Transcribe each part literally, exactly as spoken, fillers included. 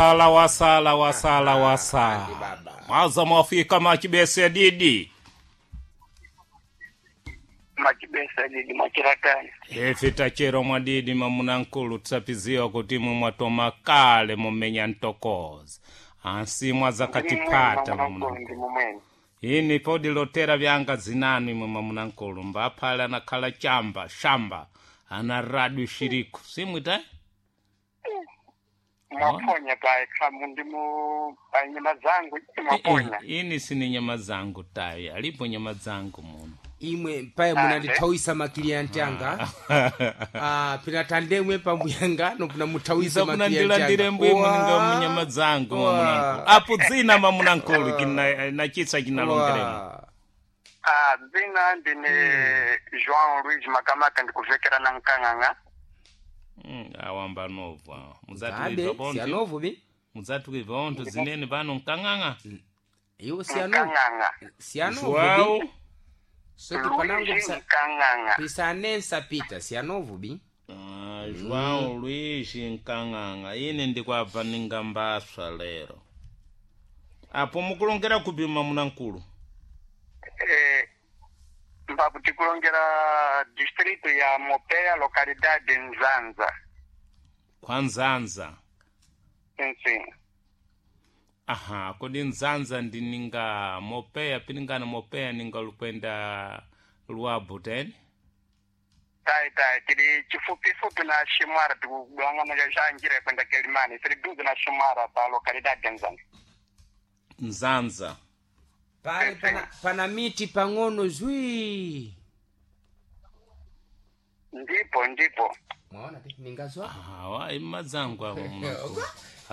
Wasala wasala wasala wasala Andi baba. mwaza mwafika machibese didi Machibesa didi mwachiratani. ife tachero mwadidi mamunankulu tisapiziwa kuti imwe mwatoma kale mumenya ntokoza ansi mwazakatipata mamunankulu Ndi mumweni. ini podi lotera vyanga zinanu imwe mamunankulu mbaphale anakhala chamba shamba ana radu shiriku simwita Mwaponya pa kamu ndimu pa nyama zangu mwaponya. ini sini nyama zangu tayi alipo nyama zangu muno Imwe paye munandithawisa makilianti anga. Ah, pina tandemwe pambuyanga no pina muthawisa makilianti anga. isakunandilandire mbwe muninga Wa. munyama zangu Wa. mamunankulu apo dzina mamunankulu kina nachitsa chinalongeremo Wa. Ah, dzina ndine João Luiz Makamaka ndikuvekera na Nkang'ang'a. Mm, awamba novu awa Abe, mudzatuibva bonthu siyanovu bi. mudzatuibva onthu zinene pano nkang'ang'a Iwo siyanovu. Nkang'ang'a. Siyanovu João bi. Soti panango Luiz pisa Nkang'ang'a. pisanensa pita siyanovu bi. Ah, João Luiz Nkang'ang'a ine ndikwabva ninga mbaswa lero apo mukulongera kupi mamunankulu Eh, mbapo tikulongera distrito ya Mopea localidade Nzanza. kwa Nzanza Sim, aha kodi Nzanza ndi ninga Mopeya piningana Mopeya ninga lukwenda Luabu teni Tai tai tili chifupifupi na Shimwara tikugwangana cha njira kwenda Kelimani tili duze na Shimwara pa localidade Nzanza. Nzanza Pale pana, pana miti pang'ono zwi. Ndipo ndipo. Mwaona bi ningazwa. awa imadzangu awo munankulu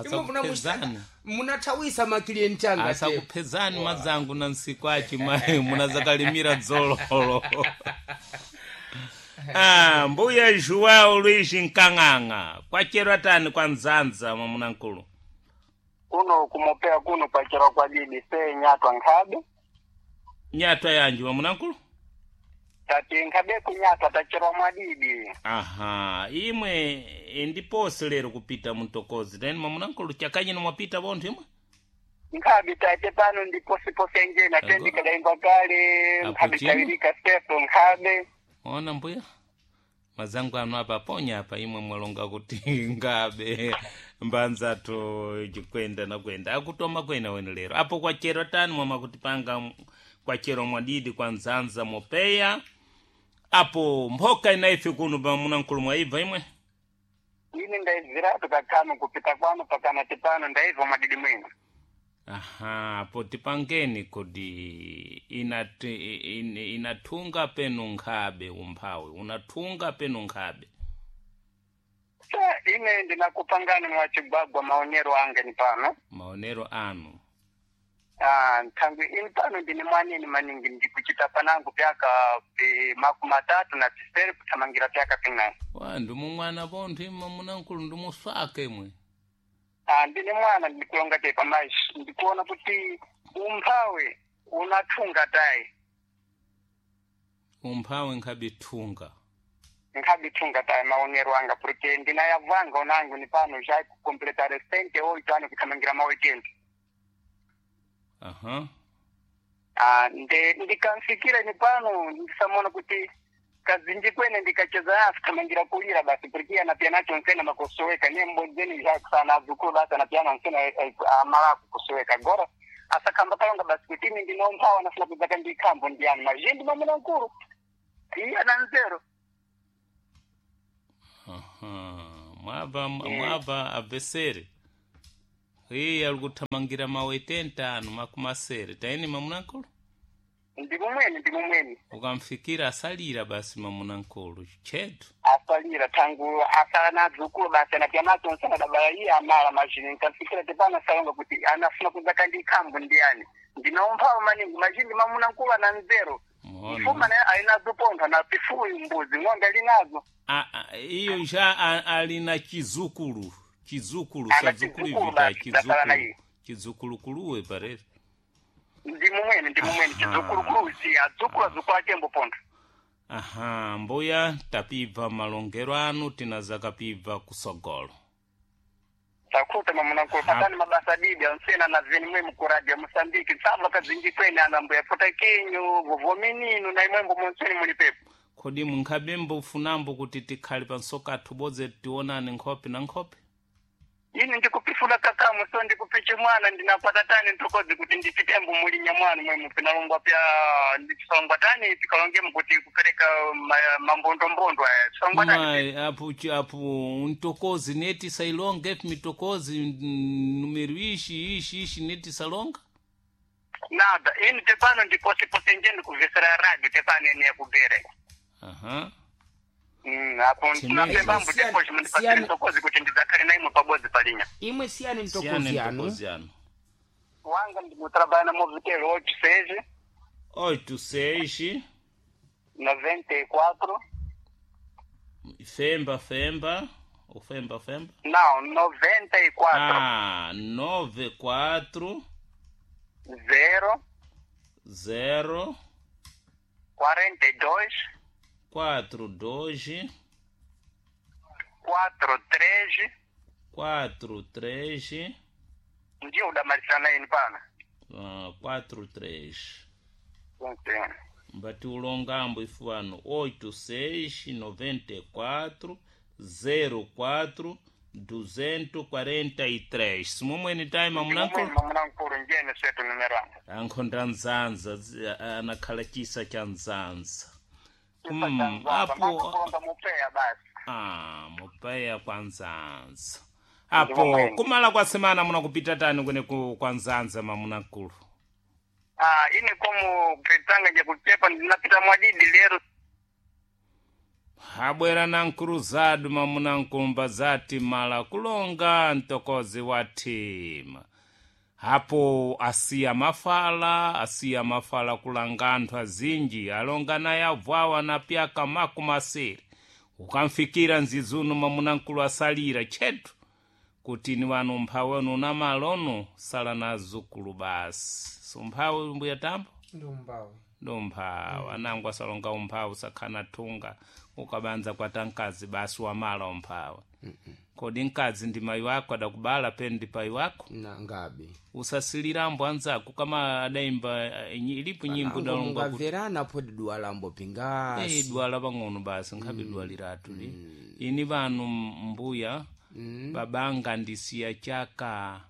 Imwe muna asakupezani munathawisa makilianti anga. te. asakupezani madzangu na nsiku achi mayi munazakalimira dzololo ah, mbuya João Luiz Nkang'ang'a kwachero tani kwa Nzanza mamunankulu Kuno kumopea kuno kwachera kwa didi se nyatwa nkhabe nyatwa yanji mamunankulu tati nkhabe kunyatwa tacherwa mwadidi aha imwe indiposi lero kupita muntokozi teni mamunankulu chakanyino mwapita bonthu imwe nkhabe tate pano ndiposiposi enjena Ago. tendikadaimba kale Apo nkhabe chino. tawirika sepo nkhabe ona mbuya mazangu anu apa ponya apa imwe mwalonga kuti ngabe mbanzato chikwenda nakwenda akutoma kwena wene lero apo kwachero tani mwama kuti panga kwachero mwadidi kwa Nzanza Mopeya apo mphoka inaife kuno pamunankulu mwaibva imwe ine ndaibviratu kakano kupita kwanu pakanati pano ndaibva mwadidi mwino aha apo tipangeni kuti inati, in, inathunga penu nkhabe umphawi unathunga penu nkhabe sa ine ndinakupangani mwachigwagwa maonero ange ni pano maonero anu Ah, nthangwi ini pano ndine mwanini maningi ndikuchita panangu pyaka pi makumi matatu na pisere kuthamangira pyaka pinayi wa ndimumwana pontho imwe munankulu ndimuswaka imwe Ah, ndine mwana ndikulonga tepa mayi ndikuona kuti umphawi unathunga tayi umphawi nkhabe thunga nkhabe thunga tayi maonero anga porque ndinayavanga onangu ni pano já kucompletar sente oito ano kuthamangira maoitente aha Ah, nde ndikamfikira ni pano ndisamona kuti kazinji kwene ndikacheza naso thamangira kulira basi porque anapiyana nsena makosoweka ne mbodzeni sana azukulu basi anapiyana nsena amalaku kusoweka agora asakhamba kalonga basi kuti ine ndinomphawa nafuna kudzaka ndikhambo ndiyani mazhinji mamuna nkulu iye ana nzero aha mwabva mwabva abvesere iye ali kuthamangira mawetenta anu makumasere taini mamunankulu ndimumweni ndimumweni ukamfikira asalira basi mamunankulu chetu asalira tangu asala na adzukulu basi anapiyanacho nsena dabala iye amala mazhinji nkamfikira tepano asalonga kuti anafuna kudzaka ndikhambo ndiyani ndinomphawa maningi mazhinji mamuna nkulu ana nzero Mona. mfuma naye alinazo pontho na pifuyu mbuzi ng'ombe alinazo A- a- iyo ja a- ali na chizukulu chizukulu Ana sadzukulu chizukulu ivi ta basi, dasala na chizukulu iye. chidzukulu-kuluwe parere ndi mumweni ndi mumweni chidzukulu si adzukulu adzukulu atembo pontho aha mbuya tapibva malongero anu tinazakapibva kusogolo Takuta mamunakulu patani mabasa didi ansena na veni mwe mukuradia Mosambiki tsabva kadzinji kwene anambuya pota kenyu vovominino na imwembo monseni muli pepo. Kodi munkhabe mbufunambo kuti tikhale pansoka athu bodze tionane nkhope na nkhope? Ini ndikupifula kakamu so ndikupiche mwana ndinapata tani ntokozi kuti ndipitembo mulinya mwana mwe mupinalongwa pya ndisongwa tani tikalongemo kuti kupereka ma- mambondombondo aya songwa tani. Mai apo chi- apo ntokozi neti sailonga efi mitokozi mm, numero ishi ishi ishi neti salonga. Nada ini tepano ndiposepose nje ndikuvesera radio tepano ene yakubere. Aha. Mm, apo Chimene. ndinapembambo Siyani- teposhi mundipasire siyani- ntokozi kuti ndidzakale na imwe pabodzi palinya. Imwe siyani Siyane mtokozi yanu. ntokozi yanu. Wanga ndikutrabalha na Movitel oito seis Oito seis noventa e quatro femba femba ufemba femba. Não, noventa e quatro Ah, nove quatro zero zero quarenta e dois quatro dois quatro três quatro três ndiyo udamalisana ini pana. ah, quatro três. Sim. Mbati ulongambo ifuano oito seis noventa e quatro zero quatro duzentos quarenta e três. Simomweni time amunanko Mamunankulu njene setu numero anga. ankhonda nzanza zi- anakhala chisa cha nzanza. Mm, Mm, apo kulonga mupeya basi. ah, mupeya kwa nzanza apo kumala kwa semana munakupita tani kwene ku- kwa nzanza mamunakulu. Ah, ini como petanga nje kuchepa ndinapita mwadidi lero. Abwera na nkuruzadu mamunankumba zati mala kulonga mtokozi wa thima apo asiya mafala asiya mafala kulanga anthu azinji alonga naye avwawa na pyaka makumi asiri ukamfikira nzizuno mamunankulu asalira tchetu kuti ni wanu mphawi onu na malo onu sala na azukulu basi sumphawi mbuya tambo. Ndumbawe. Ndomphawu anango asalonga umphawu sakhana thunga ukabanza kwata mkazi basi wamala umphawu. Kodi mkazi ndi mayi wako adakubala peni ndi payi wako? Na ngabe. Usasilirambo anzako kama adaimba eh, nyi- ilipo nyimbo Ango idalonga kuti mungamverana podi duwalambo "Eh, pingasi. dwala pang'ono basi nkhabe dwaliratu li ini vanu mbuya babanga ndisiya chaka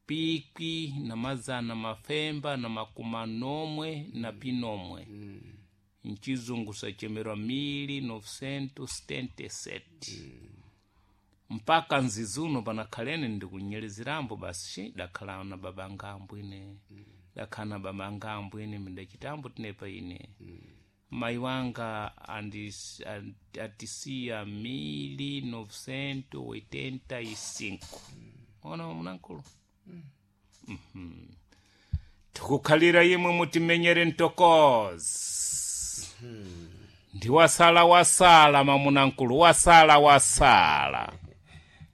pikwi na mazana mafemba na makumi nomwe na pinomwe mchizungu sachemerwa mili novecentos setenta e sete mpaka nzizuno panakhalene ndikunyelezerambo basi shi dakhala na babanga ambwine dakhala na babanga ambwine midachitambo tinepa ine mayi wanga andis- an- atisiya mili novecentos oitenta e cinco ona munankulu. Mhm. Tikukhalira imwe mutimenyere mtokozi ndi wasala wasala mamunankulu wasala wasala.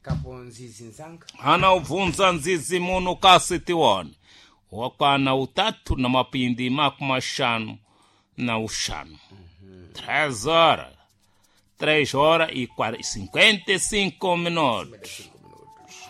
Kapo nzizi nzanga. Hana ubvunza nzizi muno kasi tiwone wakwana utatu na mapindi makumi axanu na uxanu. Três horas três horas e quar- cinquenta e cinco minutos.